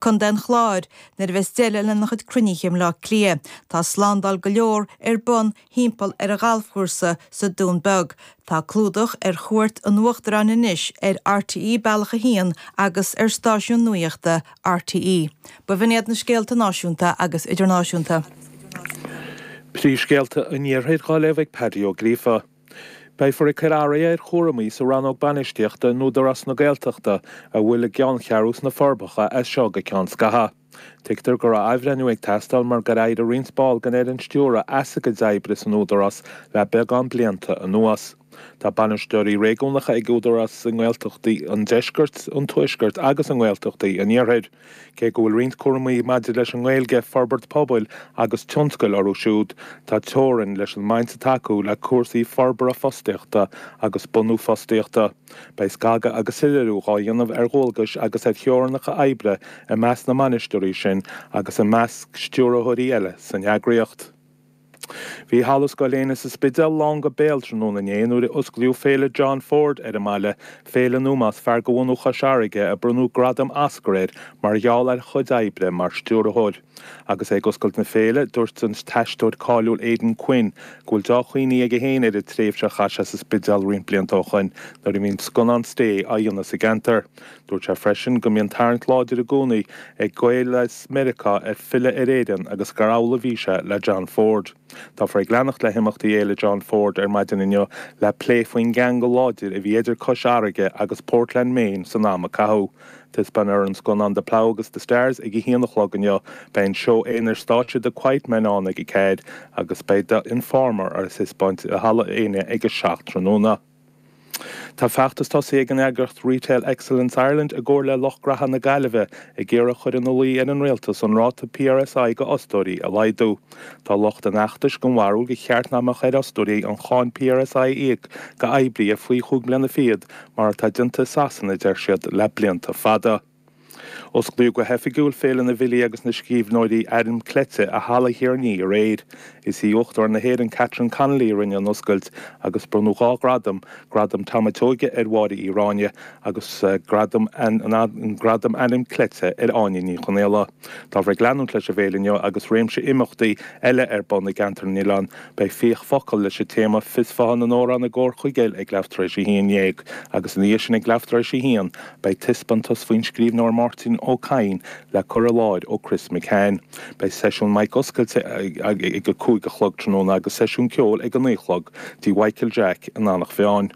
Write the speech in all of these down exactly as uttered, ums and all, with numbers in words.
Contae an Chláir, nuair a bheas deireadh lena chuid cruinnithe i mBleá Cliath. Tá slándáil go leor ar bun thimpeall ar an ghalfchúrsa sa Dún Beag. Tá clúdach ar chuairt an Uachtaráin anois ar RTÉ Bealach a hAon agus ar stáisiún nuachta RTÉ. B'in iad na scéalta náisiúnta agus idirnáisiúnta. Príomhscéalta an Iarthair á léamh ag Paddy Ó Gríofa. Beifear ag cur athruithe ar chúraimí sa rannóg bainistíochta in Údarás na Gaeltachta a bhfuil a gceanncheathrú sna Forbacha as seo go ceann scathaimh. Tuigtear go raibh athbhreithniú ag teastáil mar gur éirigh roinnt ball den fhoireann stiúrtha as a gcuid oibre san Údarás le beagán blianta anuas. Tá bainisteoirí réigiúnacha ag Údarás i nGaeltachtaí an Deiscirt, an Tuaiscirt agus i nGaeltachtaí an Iarthair. Cé go bhfuil roinnt cúraimí maidir leis an nGaeilge, forbairt pobail agus tionscail orthu siúd, tá teorainn leis an mbaint atá acu le cúrsaí forbartha fostaíochta agus bunú fostaíochta. Beidh scagadh agus soiléiriú á dhéanamh ar dhualgais agus ar theorainneacha oibre i measc na mbainisteoirí sin agus i measc stiúrthóirí eile san eagraíocht. Bhí Halla Scoil Éanna sa Spidéal lán go béal tráthnóna inné nuair a osclaíodh Féile John Ford ar an mbaile, féile in ómós fear de bhunadh Chois Fharraige a bronnadh gradam Oscar air mar gheall ar a chuid oibre mar stiúrthóir. Agus é ag oscailt na féile, dúirt an t-aisteoir cáiliúil Aidan Quinn go bhfuil deá-chuimhní aige féin ar an tréimhse a chaith sé sa Spidéal roinnt blianta ó shoin nuair a bhí an scannán Stay á dhéanamh sa gceantar. Dúirt sé freisin go mbíonn tarraingt láidir i gcónaí ag Gaeil as Meiriceá ar filleadh ar Éirinn agus gur amhlaidh a bhí sé le John Ford. Táfar ag leanacht le himeachtaí Fhéile John Ford ar maidin inniu le plé faoin gceangal láidir a bhí idir Cois Fharraige agus Portland, Maine san am a caitheadh. Taispeánfar an scannán The Plough agus The Stars ag a haon a chlog inniu, beidh an seó aonair stáitse The Quiet Men ann ag a ceathair agus beidh The Informer ar taispeáint i Halla Éanna ag a seacht tráthnóna. Tá feachtas tosaithe ag an eagraíocht Retail Excellence Ireland i gcomhar le Lucht Graithe na Gaillimhe ag iarraidh chur ina luí ar an rialtas an ráta PRSI go fhostóirí a laghdú. Tá lucht an fheachtais den bharúil gur cheart nach mbeadh ar fhostóirí an cháin PRSI a íoc go oibrithe faoi chúig mbliana fichead mar atá déanta i Sasana deir siad le blianta fada. Osclaíodh go hoifigiúil Féile na bhFilí agus na Scríbhneoirí Ainm Cleite i Halla Thír an Fhia aréir. Is í Uachtarán na hÉireann Catherine Connolly a rinne an oscailt agus bronnadh dhá ghradam, gradam Tom a' tSeoighe ar Mháire Uí Ráinne agus gradam an, an gradam Ainm Cleite ar Áine Ní Chonaola. Táfar ag leanúint leis an bhféile inniu agus réimse imeachtaí eile ar bun i gceantar na nOileán. Beidh fiach focal leis an téama Fios Fátha na nAmhrán i gComhar Chuigéil ag leathuair tar éis a haon déag agus ina dhiaidh sin ag leathuair tar éis a haon beidh taispeántas faoin scríbhneoir Máirtín Ó Cadhain le cur i láthair ó Chris McCann. Beidh seisiún mic oscailte ag a cúig a chlog tráthnóna agus seisiún ceoil ag a naoi chlog tí Michael Jack in Eanach Mheáin.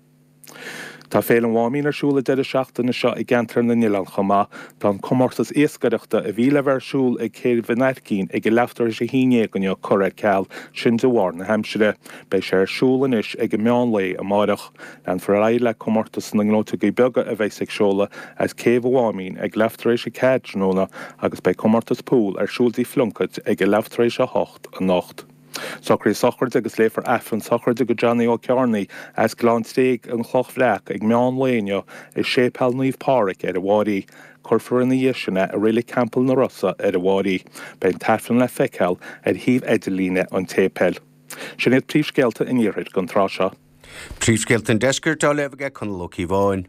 Tá Féile an Mháimín ar siúl an deireadh seachtaine seo i gceantar na nOileán chomh maith. Tá an comórtas iascaireachta a bhí le bheith ar siúl ag Céibh an Aircín ag a leathuair tar éis a haon déag inniu curtha ar ceal, sin de bharr na haimsire. Beidh sé ar siúl anois ag an meán lae amárach. Leanfar ar aghaidh le comórtas na nGleoiteogaí beaga a bheas ag seoladh as Céibh an Mháimín ag leathuair tar éis a ceathair tráthnóna agus beidh comórtas pool ar siúl dtí Phlunkett ag a leathuair tar éis a hocht anocht. Socruithe sochraide agus léifear Aifreann sochraide go Johnny Ó Cearnaigh as Gleann Tréig an Chloch Bhreac ag meán lae inniu i Séipéal Naomh Pádraig ar an bhFáirí. Cuirfear ina dhiaidh sin é i Reilig Theampall na Rosa ar an bhFáirí. Beidh an t-aifreann le feiceáil ar shuíomh idirlíne an tséipéil. Sin iad príomhscéalta an iarthair don tráth seo. Príomhscéalta an Deiscirt á léamh aige Conall Ó Cíobháin.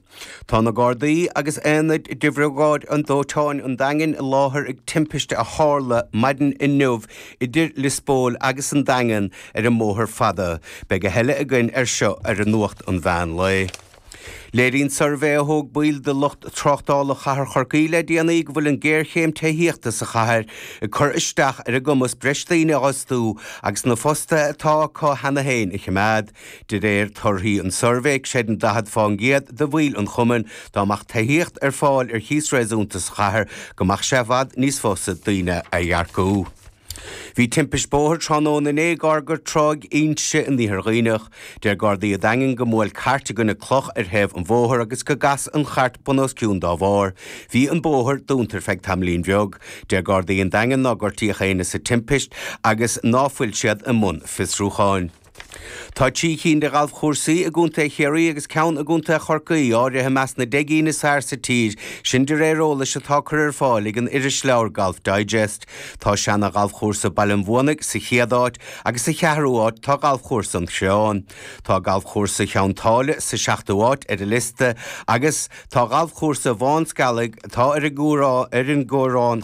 Tá na Gardaí agus aonaid de Bhriogáid an Dóiteáin an Daingin i láthair ag timpiste a tharla maidin inniu idir Lios Póil agus an Daingean ar an mbóthar fada. Beidh a thuilleadh againn ar seo ar an Nuacht an Mheán Lae. Léiríonn suirbhé a thóg baill de lucht tráchtála chathair Chorcaí le déanaí go bhfuil an géarchéim tithíochta sa chathair ag cur isteach ar a gcumas breis daoine a fhostú agus na fostaithe atá acu cheana féin a choimeád. De réir torthaí an tsuirbhé, creideann daichead fán gcéad de bhaill an chumainn dá mbeadh tithíocht ar fáil ar chíos réasúnta sa chathair go mbeadh sé i bhfad níos fusa daoine a earcú. Bhí timpist bóthair tráthnóna inné gar go Tráigh Inse in Iarthar Dhuibhneach. Deir Gardaí an Daingin go mbuail cairt i gcoinne cloch ar thaobh an bhóthair agus go gcas an chairt bun os cionn dá bharr. Bhí an bóthar dúnta ar feadh tamaillín bheag. Deir Gardaí an Daingin nár gortaíodh éinne sa timpist agus ná fuil siad i mbun fiosrúcháin. Tá trí cinn de ghalfchúrsaí i gContae Chiarraí agus ceann i gContae Chorcaí áirithe i measc na deich gcinn is fearr sa tír, sin de réir eolais atá curtha ar fáil ag an irisleabhar Golf Digest. Tá seana-ghalfchúrsa Baile an Bhuanaigh sa chéad áit agus sa cheathrú áit tá galfchúrsa an Chreáin. Tá galfchúrsa Cheann tSáile sa seachtú áit ar an liosta agus tá galfchúrsa Mhám Scealaigh atá ar an gCoireán